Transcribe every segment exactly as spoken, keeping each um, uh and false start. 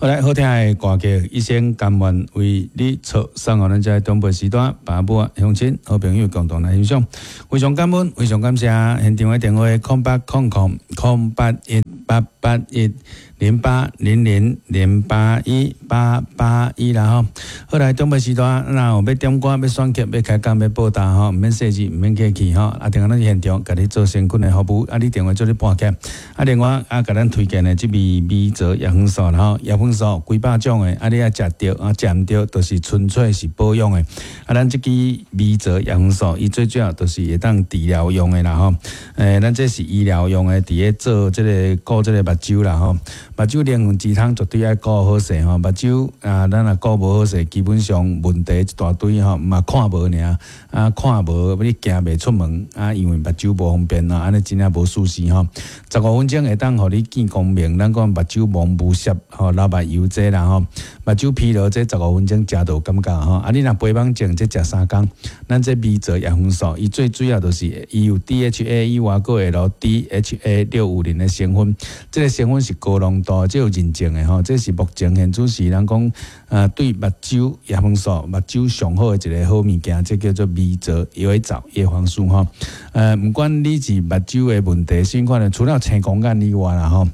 好來，好聽的歌曲，一生甘願為你錯，送予咱遮長輩時段，爸母啊、鄉親、好朋友共同來欣賞。非常感恩，非常感謝現場的電話：空八空空空八一八八一零八零零零八一八八一啦吼。好來，長輩時段，若有欲點歌、欲選曲、欲開講、欲報答吼，毋免細緻，毋免客氣吼。啊，電話咱現場共你做誠懇的服務，啊，你電話做你撥起。啊，另外啊，共咱推薦的這味米澤葉黃素啦吼，葉黃素幾百種的，啊，你愛食著啊，食毋著，就是純粹是保養的。啊，咱這支米澤葉黃素，伊最主要就是會當治療用的啦吼。欸，咱這是醫療用的，佇咧做這個顧這個目睭啦吼。目睭靈魂之窗絕對愛顧好勢吼，目睭啊，咱若顧無好勢，基本上問題一大堆吼，嘛看無爾，啊看無，你行袂出門啊，因為目睭無方便啊，按呢真正無舒適吼。十五分鐘會當予你見光明，咱講目睭蒙霧濕吼，流目油這啦吼，目睭疲勞這十五分鐘食就有感覺吼。啊，你若肥胖症這食三工，咱這米澤葉黃素，伊最主要就是伊有 D H A 以外，閣會落 D H A 六五零的成分，這個成分是高濃度，這有認證的吼，這是目前現此時人講啊，對目睭葉黃素、目睭上好的一個好物件，這叫做米澤葉藻葉黃素吼。呃，毋管你是目睭的問題，啥款的，除了青光眼以外啦吼。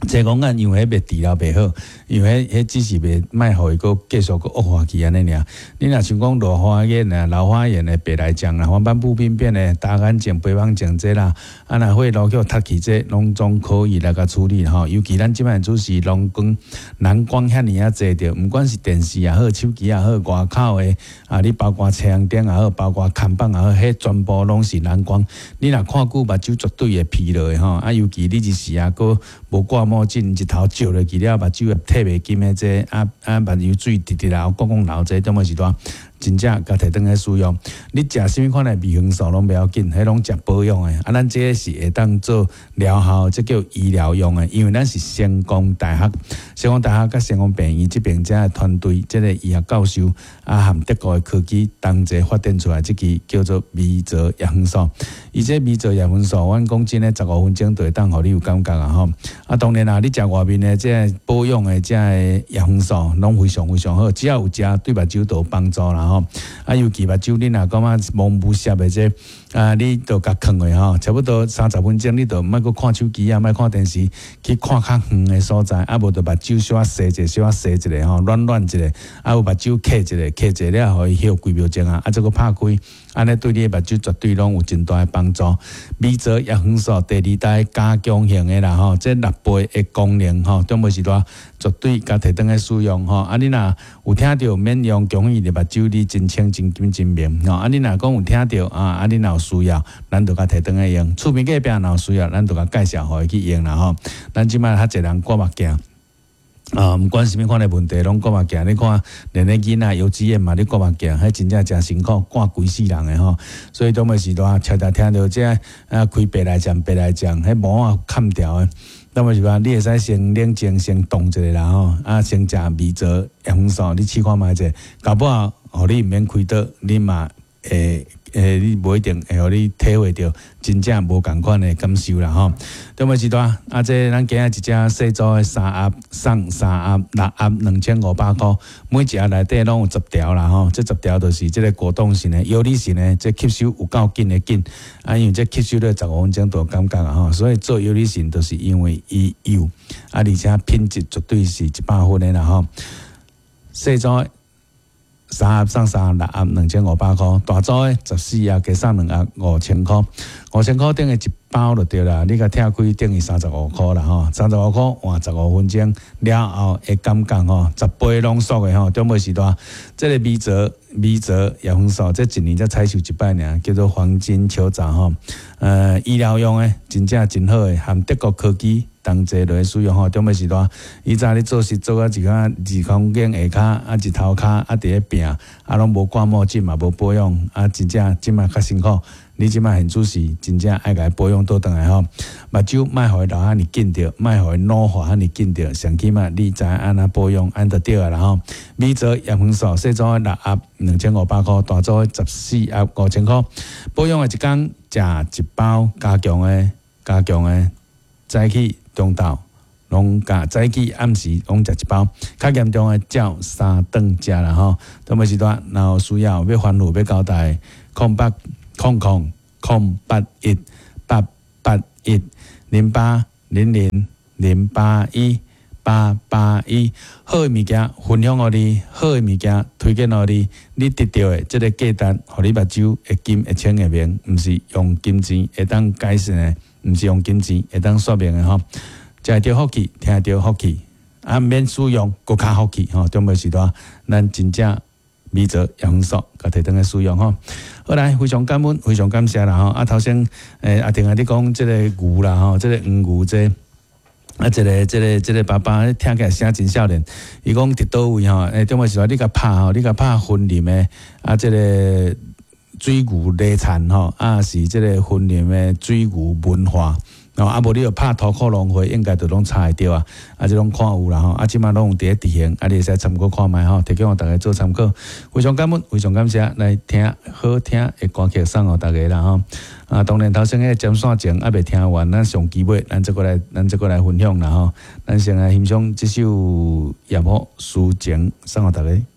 青光眼因為彼袂治療袂好，因為彼只是袂莫予伊閣繼續閣惡化去按呢爾。你若像講老花眼啊、老花眼的白內障啦、黃斑部病變的大眼症、肥胖症這啦，啊若血路去窒去這攏總可以來共處理吼。尤其咱這擺主是藍光、藍光遐爾仔濟著，毋管是電視也好、手機也好、外口的啊，你包括太陽燈也好，包括看板也好，彼全部攏是藍光。你若看久目睭絕對會疲勞的吼。啊，尤其你一時啊，閣無掛墨鏡，日頭照落去了，目睭會退袂金的這啊啊，目油水直直流，摃摃流這種物時段，真正共提轉來使用。你食啥物款的維生素攏袂要緊，彼攏食保養的。啊，咱這個是會當做療效，這叫醫療用的。因為咱是成功大學、成功大學佮成功病院這邊遮的團隊，這個醫學教授啊，含德國的科技同齊發展出來，這支叫做米澤葉黃素。伊這米澤葉黃素，阮講真的，十五分鐘就會當予你有感覺啊吼。啊，當然啦，你食外面的這個保養的這個葉黃素，攏非常非常好，只要有食，對目睭都有幫助啦吼。啊，尤其目睭你若感覺蒙霧濕的這啊，你就共囥落吼，差不多三十分鐘，你就莫閣看手機啊，莫看電視，去看較遠的所在，啊，無就目睭小可洗者，小可洗一下吼，軟軟一下，啊，有目睭瞌一下，瞌一下了，予伊歇幾秒鐘啊，啊，再閣拍開，按呢對你的目睭絕對攏有真大的幫助。米澤葉黃素第二代加強型的啦吼，這六倍的功能吼，中尾時段絕對共提轉來使用吼。啊，你若有聽著免用強意的目睭，你真清真金真明吼。啊，你若講有聽著啊，啊，你若有需要，咱就共提轉來用。厝邊隔壁若有需要，咱就共介紹予伊去用啦吼。咱這擺較濟人掛目鏡。啊，毋管啥物款的問題，攏掛目鏡。你看，連咧囡仔幼稚園嘛，咧掛目鏡，彼真正誠辛苦，掛規世人的吼。所以當尾時段，常常聽著這啊開白內障、白內障，彼膜仔砍掉的。當尾時段，你會使先冷靜，先動一下啦吼。啊，先食米澤葉黃素，你試看覓者，搞不好，予你毋免開刀，你嘛會。欸，你無一定會予你體會著真正無仝款的感受啦吼。中尾時段，啊，這咱今仔一隻細組的三盒送三盒六盒兩千五百箍，每一盒內底攏有十條啦吼。這十條就是這個果凍型的、藥理型的，這吸收有夠緊的緊。啊，因為這吸收了十五分鐘就有感覺啊吼，所以做藥理型就是因為伊幼，啊，而且品質絕對是一百分的啦吼。細組三盒送三盒六盒兩千五百箍，大組的十四盒加送兩盒五千箍，五千箍等於一包就對啦。你共拆開等於三十五箍啦吼，三十五箍換十五分鐘了後會感覺吼，十倍濃縮的吼，中尾時段，這個米澤米澤葉黃素，這一年才採收一擺爾，叫做黃金球藻吼。呃，醫療用的真正真好的，含德國科技同齊落去使用吼。中尾時段，以前你做事做啊一個二公斤下跤啊，日頭跤啊，佇咧拚啊，攏無掛墨鏡嘛，無保養啊，真正這擺較辛苦。你這擺現主時真正愛共伊保養倒轉來吼，目睭莫予伊老遐爾緊著，莫予伊老化遐爾緊著，上起碼你知影按怎保養，按就對啊啦吼。米澤葉黃素細組的六盒兩千五百箍，大組的十四盒五千箍。保養的一工食一包加強的，加強的，早起中晝。攏共早起暗時攏食一包，較嚴重的照三頓食啦吼。長輩時段，若有需要欲吩咐欲交代，空八空空空八一八八一零八零零零八一八八一，好的物件分享予你，好的物件推薦予你，你得著的這个價值，予你目睭會金會清會明，毋是用金錢會當改善的，毋是用金錢會當說明的吼。食會著福氣，聽著福氣，啊，免使用，閣較福氣吼。長輩時代，咱真正米澤養生素，共提轉來使用吼。好來，非常感恩，非常感謝啦吼。啊，頭先欸阿婷啊，你講這个牛啦吼，這个黃牛這個。啊，這个、這个、這个爸爸聽起來聲真少年。伊講佇佗位吼，欸，長輩時代你共拍吼，你共拍雲林的啊，這个水牛禮田吼，啊是這个雲林的水牛文化。哦，啊無你著拍塗苦農會，應該就攏查會著啊。啊，這攏看有啦吼，啊，這馬攏有佇咧執行，啊，你會使參考看覓吼，提供予大家做參考。非常感恩，非常感謝，來聽好聽的歌曲送予大家啦吼。啊，當然頭先彼个針線情猶未聽完，咱上期尾，咱再閣來，咱再閣來分享啦吼。咱先來欣賞這首《葉幕抒情》送予大家。